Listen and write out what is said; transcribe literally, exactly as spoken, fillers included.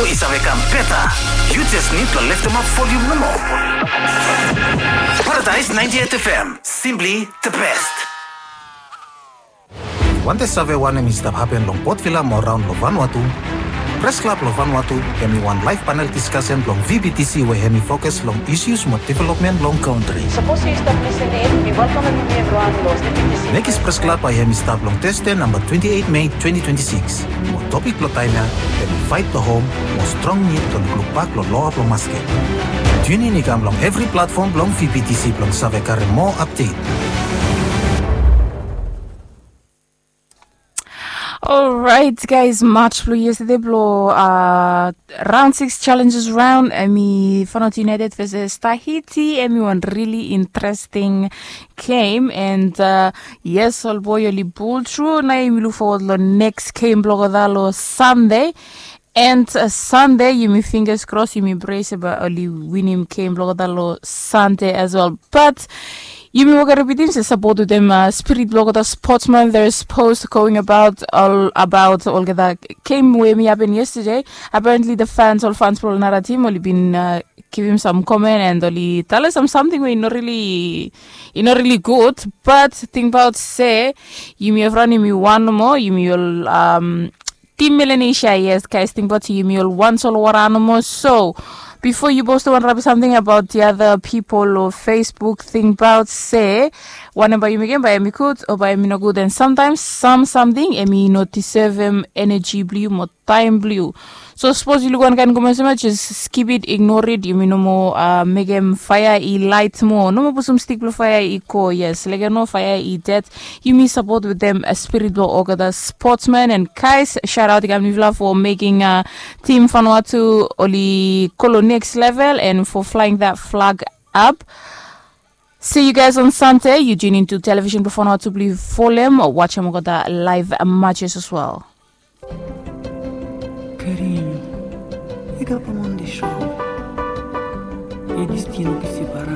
i save kam beta. Yu jes nid blong leftemap volium nomo. Paradise ninety-eight F M, simply the best. Wantem save wanem i stap hapen long Port Vila mo raon long Vanuatu? Pres Klab long Vanuatu hem i wan laef panel diskasen blong V B T C we hem i fokus long isus mo developmen long kantri. Sapos yu stap lisening, mi welkamem yumi evriwan long V B T C. Mekis Pres Klab bae hem i stap long Teste namba twenti eit Mei twenti twenti sikis. Mo topik blong taem ya hem i Fight the Home mo strong nid blong lukluk bak long loa blong masket. Tiunin i kam long evri platfom blong V B T C blong save karem moa apdet. Orait guys, match blong yestade blong uh, round six challenges round, hem i Feyenoord United versus Tahiti, hem i wan really interesting game. And uh, yes, ol boe oli pull through. Nao yumi luk forward long next game blong olgeta long Sunday. And uh, Sunday, yumi fingers crossed, yumi pray se bae oli winim game blong olgeta long Sunday as well. But yumi wok ripitim se sapot wetem uh, spirit blong olgeta sportsman. There is post going about all about olgeta game we hem i hapen yesterday. Apparently the fans, ol fans blong ol nara tim, oli bin uh, givim sam comment and oli talem sam samting we i no really i no really good. But tingbaot se yumi evriwan yumi wan nomo, yumi ol um, Tim Melanesia, yes guys, tingbaot yumi ol wan solwara nomo. So bifo yu postem wan rabis samting abaot the other people long Facebook, tingbaot se wanem bae yu mekem, bae hem i gud o bae hem i nogud. And sometimes sam samting hem i no disevem eneji blong yu mo taem blong yu. So sapos yu luk wan kaen comment olsem ya, jes skip it, ignore it. Yumi no moa uh, mekem faea i laet moa. No moa pusum stik blong faea i go. Yes, leke no, faea i ded. Yumi sapot wetem uh, spirit blong olgeta sportsman. And guys, shout out i kam long yufala for meking uh, team Vanuatu oli go long next level and for flying that flag up. See you guys on Sunday. Yu tune into television blong Vanuatu blong yu folem o wajem olgeta live matches as well. Cariño, e ka pa mande show. E destino ki separa